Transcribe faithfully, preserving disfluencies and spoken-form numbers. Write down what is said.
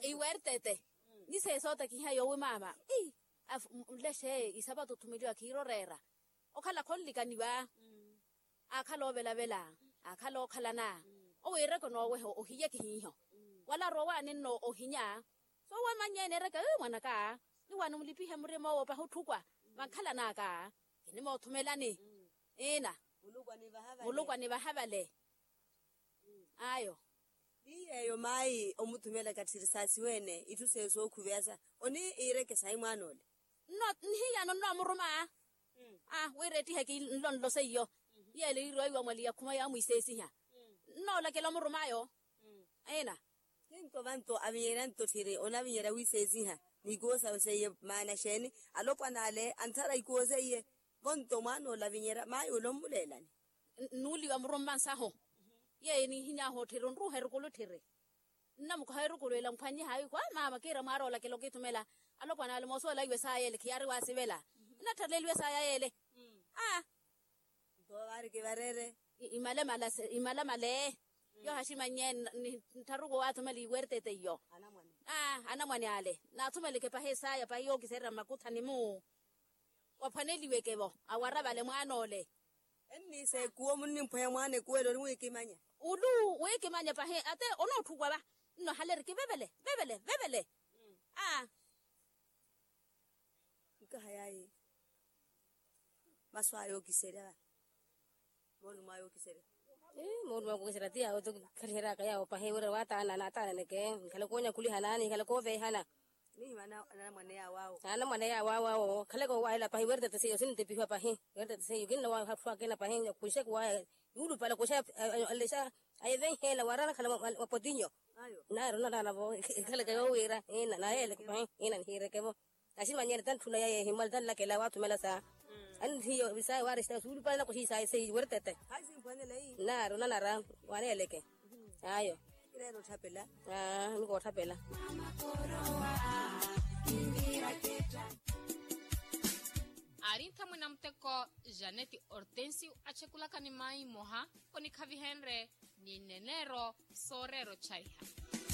Iwertete. Ni seesa otakiha yoowi maama. Nlexe isapato othumeliwa khiira oreera. Okhala khonlikaniwa. Aakhala oovelavela. Aakhala ookhalana. Owiireke onooweha ohiye kihiiho. Wala arowa waani nno ohinya. Soowa mannyeene ereke mwanaka. Ni waani mulipihe murima owo pahi otthukwa. Vankhalan'aka. Kinimoothumelani. Ina. Muluku anivaha vale. Ayo. Ni yeeyo maayi omuthumela katthiri saasiweene itthu seyo sookhuveya sa. Oniireke sayi mwaan'ole. Nno nihiyano nnoomuruma. Wira ettiheke nlonlo seiyo. Yeele yiiriwa iwa mwali yakhuma yaamwiisesiha. Nnoolakela omurum'ayo. Ena. Ninto vanto avinyerya nto tthiri onavinyerya wiisesiha. N'ikuwo sawe seiye maana xeeni? Alopwana ale anthara ikuwo seiye. Vonto mwaan'ole avinyerya maayi ole ommuleelani. Nnuuliwa murumma nsahu. Yeeyo nihiny'ahu otthiri onruuha erukulu tthiri. Nnamukoha erukulu ela mphwannye haayi khwa maama kiira mwaara olakela okithumela. Alopwana ale moosuwela iwe saaya ele khiyaari waasivela. Inatthaleliwe saaya yeele. Aa. Nto vaari kivareere. Imalamala. Yoohaximannye. Nttharuku waathumela iwertete iyo. Anamwane ale naathumele khepahi saaya pahi yookiserya mmakuthani-mu. Waphwaneliweke-vo awara vale mwaan'ole. Enniisa ekuwo munnimphweya mwaana ekuwo ele oniwiikimanya. Ulu wiikimanya pahi ate onootthukwa va. Nno halere kivevele vevele vevele. Aa. Nkaha yaayi. Masu aya ookiserya va. Moolumo aya ookiserya. Moolumo aya ookiserya ti yaawo tho. Khaliheryaka yaawo pahi wira waataana naataananeke. Nikhale koonyakhuliha naani nikhale kooveehana. Anamwane yaawo awo khaleke owaahela pahi wertete seiyo sintepihiwa pahi. Wertete seiyo kinna waahatthu akina pahi. Kuxekuwaya yuulupala kuxa alexa. Ayevenheela wara anakhala mwapotinyo. Naayi ronaraana-vo. Ekhaleke yoowiira ina nayeeleke pahi. Ina nihiireke-vo. Aximanyene tantthuna yaye ehimwale tanlakela waathumela saa. Annihiyo saye waarexa suulupale nakoxiyi saye seiyi wertete. Nari onanara. Waneeleke. Ayo. Aa nikootthapela. Aari nthamwina muteko. Janeti hortensio achekulaka ni maayi mmoha onikhavihenrye ni neneero sooreera ochaiha.